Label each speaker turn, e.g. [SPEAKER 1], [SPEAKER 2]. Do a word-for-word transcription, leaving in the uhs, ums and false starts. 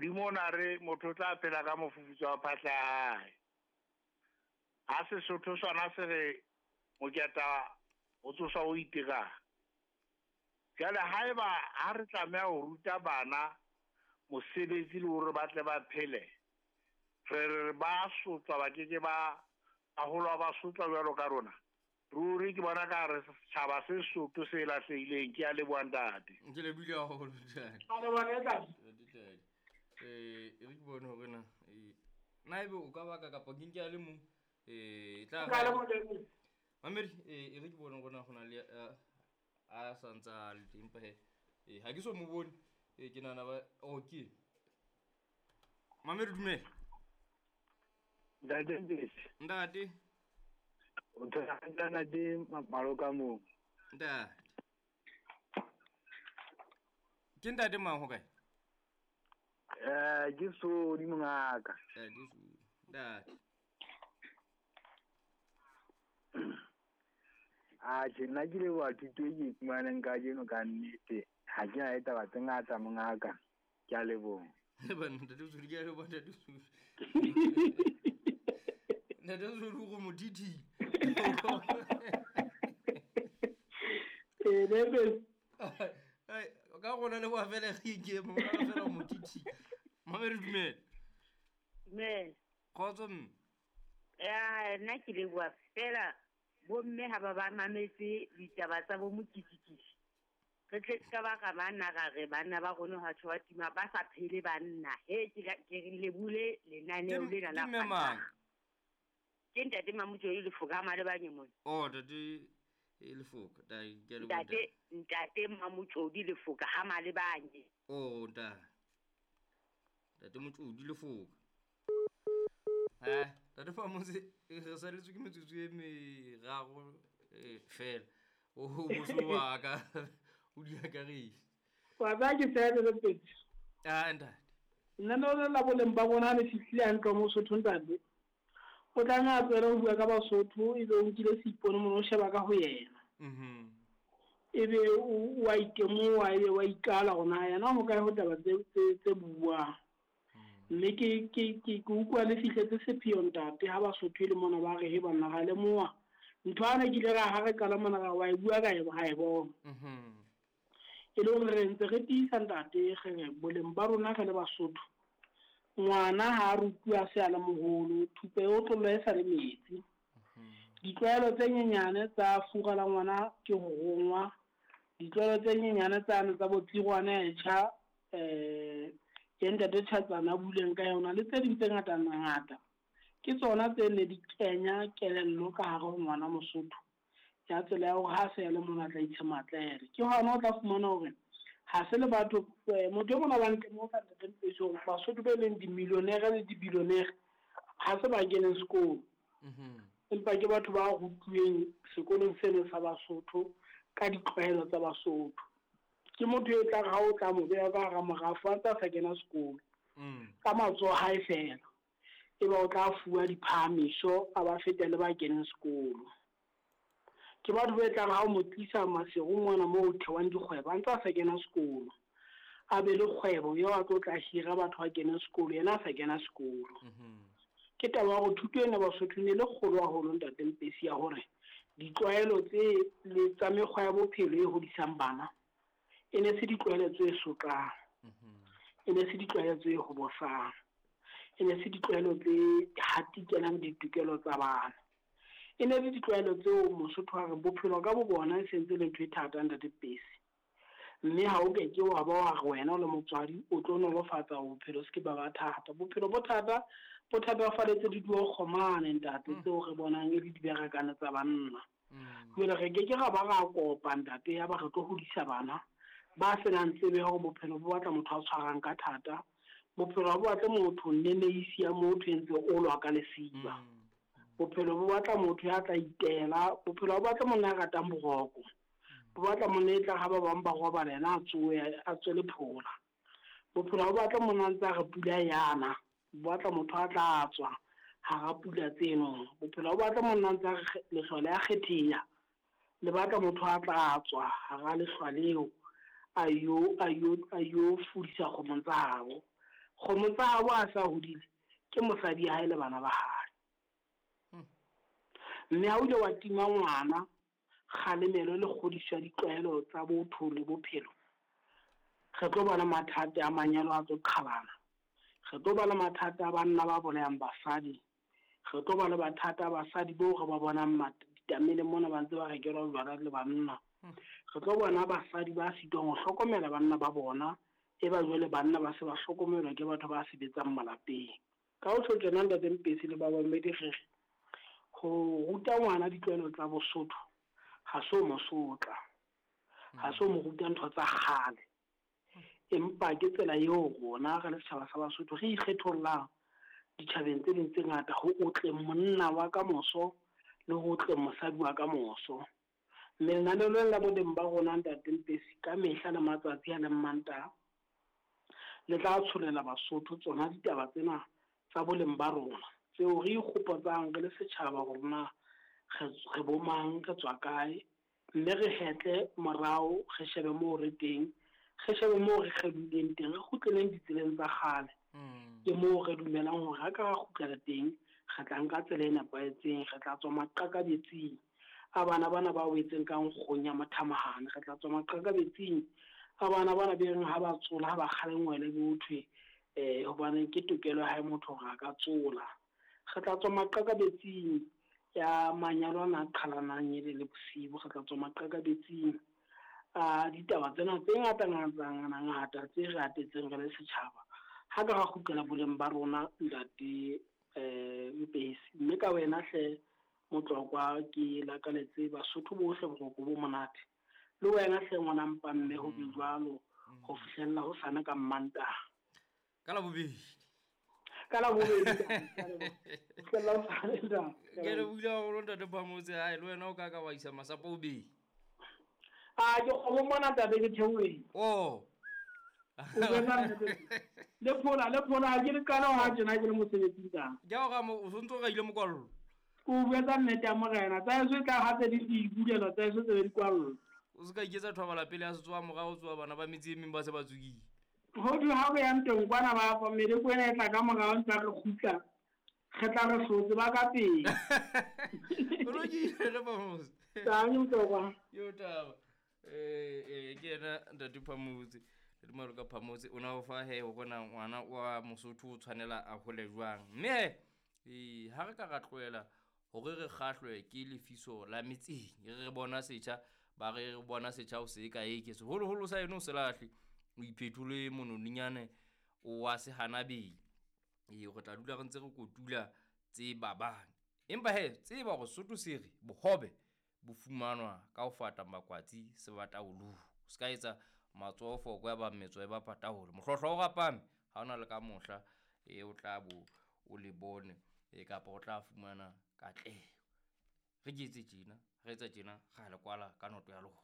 [SPEAKER 1] Modimo o na re motho o tla phela ka mofufutso wa phatla ya hae. Ha Sesotho sona se re moketa o tsoswa o itirang. Jwale haeba ha re tlameha ho ruta bana mosebetsi le hore ba tle ba phele, re re ba sotlwa ba keke ba haholo ba sotlwa jwalo ka rona. Ruri ke bona ka re setjhaba se Sotho se lahlehileng. Ke a leboha ntate.
[SPEAKER 2] Ke lebohile haholo ntate.
[SPEAKER 3] A leboha ntate.
[SPEAKER 2] Ntate. Eh, e re ke bone hore na eh na ebe o ka baka kapa ke nke a le mong eh tla
[SPEAKER 3] Ka leboha ntate.
[SPEAKER 2] Mamedi eh e re ke bone hore na ho na le a sa ntsa le teng empa he eh ha ke so mo bone eh ke nahana ba okay. Mamedi dumela.
[SPEAKER 4] Ntate Mpesi.
[SPEAKER 2] Ntate.
[SPEAKER 4] O thola ntate Maloka moo.
[SPEAKER 2] Ntate. Ke ntate mang ho kae?
[SPEAKER 4] Eh ke Sodi mongaka.
[SPEAKER 2] Eh ke Sodi. Ntate.
[SPEAKER 4] A tjhe nna ke leboha thuto e ke e fumaneng kajeno ka nnete. Ha ke na le taba tse ngata mongaka. Ke a leboha.
[SPEAKER 2] Banna ntate Sodi ke a leboha ntate Sodi. Ntate Sodi o go motiti.
[SPEAKER 3] Eh nebe.
[SPEAKER 2] Ai ka gona le boa fela ge ke mo ka fela motiti. Mamedi dumela.
[SPEAKER 5] Dumela.
[SPEAKER 2] Khotso mme.
[SPEAKER 5] Ya nna ke leboha fela bomme ha ba ba mametse ditaba tsa bo mokitikiti. Re tle ka ba ka banna ra re banna ba rona ha tshwa tima ba sa phele banna. He ke ke re lebule lenaneo lena la
[SPEAKER 2] mang?
[SPEAKER 5] Ke ntate Mamotjodi Lefoka ha Malebanye mona.
[SPEAKER 2] Oh ntate Lefoka, da ke le
[SPEAKER 5] ntate ntate Mamotjodi Lefoka ha Malebanye.
[SPEAKER 2] Oh ntate. Ntate Motjodi Lefoka. Ha, ntate fa motse re saletswe ke metsotso e meraro fela. O boso wa ka o di akaretse.
[SPEAKER 3] Wa ba ke tsebe le pedi.
[SPEAKER 2] Ah ntate.
[SPEAKER 3] Nna no la boleng ba bona le fihlile hantle mo Sotho ntate. O tla nna tswela ho bua ka Basotho ebe o nkile seipone mono o sheba ka ho yena.
[SPEAKER 2] Mhm.
[SPEAKER 3] Ebe o wa itemoha ebe wa ikala hore yena ho kae ho taba tse tse buang. Mme ke ke ke ke utlwa le fihletse sepheo ntate ha Basotho le mona ba re he banna ra lemoha. Ntho ana ke ile ra ha re qala mona ra wa e bua ka e ha e bona.
[SPEAKER 2] Mhm.
[SPEAKER 3] E le hore re ntse re tiisa ntate re boleng ba rona re le Basotho. Ngwana ha rutuwa se a le moholo, thupe e otlolo e sa le metsi. Ditlwaelo tse nyenyane tsa fura la ngwana ke ho rongwa. Ditlwaelo tse nyenyane tsane tsa botsirwana e tjha eh ke ntate Tjhatsana buleng ka yona le tse ding tse ngata ngata. Ke tsona tse ne di kenya kelello ka hare ho ngwana Mosotho. Ya tsela ya hore ha se le mona tla itshematlele. Ke hona o tla fumana hore ha se le batho motho e mona ba ntle mo ka ntate Mpesi hore Basotho ba leng di-millionaire le di-billionaire ha se ba keneng sekolo.
[SPEAKER 2] Mhm.
[SPEAKER 3] Empa ke batho ba rutuweng sekolong seno sa Basotho ka ditlwaelo tsa Basotho. Ke motho e tlang ha o tla mo beha ka hara morafo a ntse a sa kena sekolo.
[SPEAKER 2] Mm.
[SPEAKER 3] Ka matsoho hae fela. Eba o tla fuwa diphahamiso a ba fete le ba keneng sekolo. Ke batho ba tlang ha o mo tlisa Maseru mona moo ho thewang dikgwebo a ntse a sa kena sekolo. A be le kgwebo eo a tlo tla hira batho ba keneng sekolo yena a sa kena sekolo.
[SPEAKER 2] Mhm.
[SPEAKER 3] Ke taba ya hore thuto ena Basotho ne le kgolo haholo ntate Mpesi ya hore ditlwaelo tse le tsa mekgwa ya bophelo e hodisang bana e ne se ditlwaelo tse sotlang.
[SPEAKER 2] Mhm.
[SPEAKER 3] E ne se ditlwaelo tse hobosang. E ne se ditlwaelo tse hatikelang ditokelo tsa bana. E ne le ditlwaelo tseo Mosotho a re bophelo ka bo bona e sentse le ntho e thata ntate Mpesi. Mme ha o ke ke wa ba wa re wena o le motswadi o tlo nolofatsa bophelo se ke ba ba thata. Bophelo bo thata bo thatafaletse diduo kgomane ntate tseo re bonang e le diberekane tsa banna. Jwale re ke ke ra ba ra kopa ntate ya ba re tlo hodisa bana ba senang tsebe hore bophelo bo batla motho a tshwarang ka thata. Bophelo bo batla motho nneneisi ya motho e ntse o lwa ka lesiba. Bophelo bo batla motho ya tla itela, bophelo bo batla monna ya ratang boroko. Bo batla monna e tla ha ba bang ba robala yena a tsohe a tswele phola. Bophelo bo batla monna a ntse a re pula yana, bo batla motho a tla tswa hara pula tseno. Bophelo bo batla monna a ntse a re lehlwa le a kgetheha, le batla motho a tla tswa hara lehlwa leo a yo a yo a yo fudisa kgomo tsa habo. Kgomo tsa habo a sa hodile ke mosadi ya hae le bana ba hae. Mme ha o ile wa tima ngwana kgalemelo le kgodiso ya ditlwaelo tsa botho le bophelo, re tlo ba le mathata a manyalo a tlo qhalana, re tlo ba le mathata a banna ba bolayang basadi, re tlo ba le mathata a basadi boo re ba bonang ditameleng mona ba ntse ba rekelwa jwala le banna. Re tlo bona basadi ba sitwang ho hlokomela banna ba bona, e ba jwale banna ba se ba hlokomelwa ke batho ba sebetsang malapeng. Ka ho tjho tjena Ntate Mpesi le ba bamedi re re ho ruta ngwana ditlwaelo tsa Bosotho ha se ho mo sotla, ha se ho mo ruta ntho tsa kgale, empa ke tsela eo rona re le setjhaba sa Basotho re ikgethollang ditjhabeng tse ding tse ngata ho otleng monna wa ka moso le ho otleng mosadi wa ka moso. Mme lenaneo lena la boleng ba rona Ntate Mpesi ka mehla le matsatsi a leng Mantaha le tla tsholela Basotho tsona ditaba tsena tsa boleng ba rona tseo re ikgopotsang re le setjhaba hore na re bo mang, re tswa kae, mme re hetle morao, re shebe moo re teng, re shebe moo re kgelohileng teng, re kgutleleng ditseleng tsa kgale. Ke moo re dumelang hore ha ka ra kgutlela teng, re tla nka tsela e nepahetseng, re tla tswa maqakabetsing a bana bana ba wetseng ka nkgong ya mothamahane, re tla tswa maqakabetsing a bana bana be reng ha ba tsola, ha ba kgalengwele bo thwe eh hobane ke tokelo ya hae motho hore a ka tsola. Re tla tswa maqakabetsing ya manyalo ana a qhalanang ele le bosibu, re tla tswa maqakabetsing a ditaba tsena tse ngata ngata ngata tse re atetseng re le setjhaba. Ha ka ra kgutlela boleng ba rona Ntate eh Mpesi, mme ka wena hle Motlokwa ke lakaletse Basotho bohle boroko bo monate, le wena hle ngwana mpa mme ho be jwalo ho fihlella ho sane ka Mmantaha.
[SPEAKER 2] Ka Labobedi.
[SPEAKER 3] Ka Labobedi. Fihlella ho sane ntate.
[SPEAKER 2] Ke le buile haholo Ntate Phamotse, hae le wena o ka ka wa isa masapo bobedi.
[SPEAKER 3] Ah, ke kgomo mona ntate ke theohile.
[SPEAKER 2] Oh.
[SPEAKER 3] Le phola, le phola, ha ke le qala ha tjena ke le mosebetsing tang.
[SPEAKER 2] Ke a o ra mo, o sontso o raile mokwallo.
[SPEAKER 3] Ke o buetsa nnete ya morena, tsa heso e tla hape di di bulela, tsa heso tse be di kwallwa.
[SPEAKER 2] O se ka iketsa thobala pele ya setsoa morao, o tsoa bana ba metse e meng ba se ba tsukile.
[SPEAKER 3] Ho thwe ha re yang teng kwana ba fa meleko ena e tla ka morao ntse re kgutla, re tla re hlotse ba ka pele.
[SPEAKER 2] O lokile le Phamotse.
[SPEAKER 3] Tang Motlokwa.
[SPEAKER 2] Yo taba. Eh eh ke yena Ntate Phamotse. Ntate Maloka Phamotse o na o fa he hore na ngwana wa Mosotho o tshwanela a hole jwang. Mme he ha re ka ra tlohela hore re kgahlwe ke lefiso la metseng, re re bona setjha, ba re re bona setjha o se ka eke seholoholo sa eno o se lahle, o iphetole mononinyane o wa se hanabeng. Ee, re tla dula re ntse re kotula tse babang. Empa he tseba hore Sesotho se re bohobe bo fumanwa ka ho fata makwatsi sebataolong. O se ka etsa matsoho foko ya ba metso e ba pataolo. Mohlohlo o rapame ha ona le ka mohla e o tla bo o le bone e kapa o tla fumana katleho. Re ke etse tjena, re etsa tjena, ra le kwala ka noto ya lona.